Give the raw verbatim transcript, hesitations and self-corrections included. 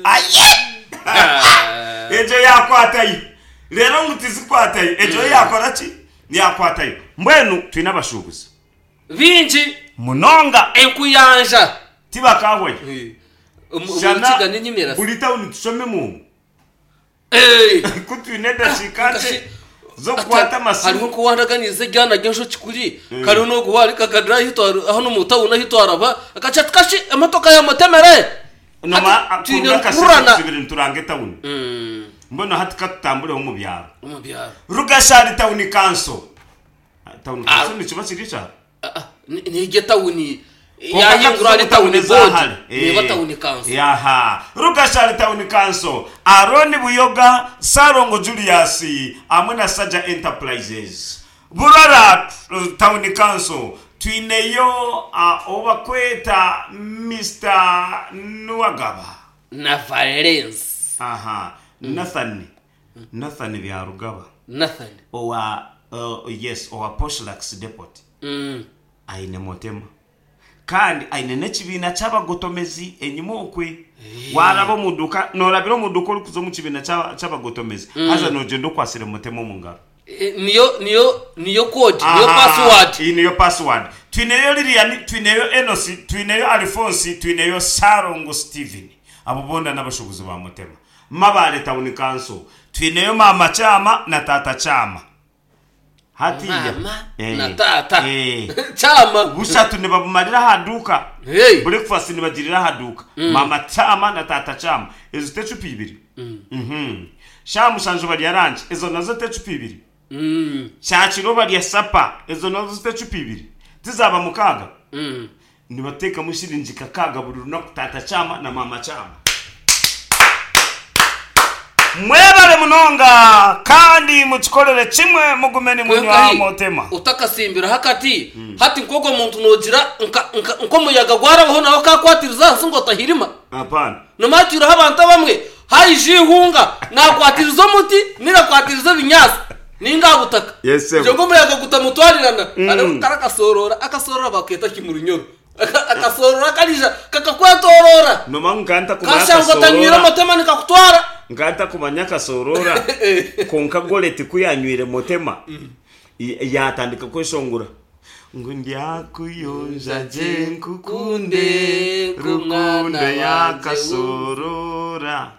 Aye egyo yakwatayo reero ngu tizikwatayo, egyo yo yakora ki? Yakwatayo. Mbwenu twine abashuubuzi bingi munonga. Enkuyanja tibakahwayo. Omu Shana Rukiga n'Enyimirasi. Buri tawuni tushomemu ku twine edakiika nkye z'okukwata amasimu. Hariho nk'owandaganiize eryana ry'enjoki kuri, kariho n'ogu waari kakadira ahi twari hanu omu tawuni ahi twaraba, akagira ati kashi emotoka yamutemere! Noma Hati twine kuruga akasente rukururana. tubire nituranga etawuni. Mbwenu hati katutambureho omu byaro. Omu byaro. Rugashari Town Council. Town Council nikiba kiri ekyaro? N'egyo etawuni Kwonka yahingura ahari katuze omu tawuni tawuni boodi ezahare. neeba Eh, tawuni kanso. Yaha. Rugashari Town Council, Aron Buyoga, Ssalongo Julius hamwe na Saja Enterprises. Burara Town Council twineyo ou barikweta Mister Nuwagaba. Na Valens. Aha, Nathan, Nathan Byarugaba. Nathan. Owa, yes, owa Poshlux Depot. Mm. Aine Motema. Kandi aine n'ekibiina ky'abagotomezi enyima okwe. Waaraba omu duuka, noorabira omu duuka orikuza omu kibiina ky'a- ky'abagotomezi, haza noogyenda okwatsire Motema omu ngaro. Eh, Niyo niyo niyo code, niyo Aha, password. Iyi niyo password. Twineyo Lilian, twineyo Enosi, twineyo Alphonse, twineyo Ssalongo Steven. Abo boona n'abashuubuzi ba Mutema. Mabaale Town Council, twineyo Maama Kyama na Taata Kyama. Hatiiya. Maama Eh, na taata. eh. Kyama. Bushatu nibabumarira aha duuka. Hey. Breakfast nibagirira aha duuka. Maama Kyama na Taata Kyama. Ezo t'ecupa ibiri? Mhm. Shaaha mushanju barya ranki. Ezo nazo t'ecupa ibiri? Mm. Kyakiro barya sapa. Ezo nazo t'ecupa ibiri? Tizaaba mukaaga? Mm. Nibateekamu shiringi kakaaga buri runaku Taata Kyama na Maama Kyama. Mwebare munonga kandi mukikorere kimwe mugume nimunywa Kwonka hi, Motema. otakasimbiraho akati, hati nk'ogwo muntu noogira nka, nka, nk'omuyaga gwarabaho nawe akaakwatiriza ahansi ngu otahirima. Hapana. Noomanya twireho abantu abamwe, haija eihunga, naakwatiriza omuti nainga akwatiriza ebinyaatsi nainga aha butaka. Yes, sebo. Kugira ngu omuyaga gutamutwarirana. Hariho kare akasooroora, akasooroora bakeeta ki mu Runyoro? Aka- Akasooroora kariija kakakwetooroora. Noomanya ngu nkaba ntakumanya Kashanga otanywire akasooroora. omutema nikakutwara. Nkaba ntakumanya akasooroora. Kwonka Goreti ku yaanywire Motema, y- yaatandika kweshongora ngu ndyakuyonja gye nkukunde, Nkunde rukundo nk'omwana wangye y'akasooroora.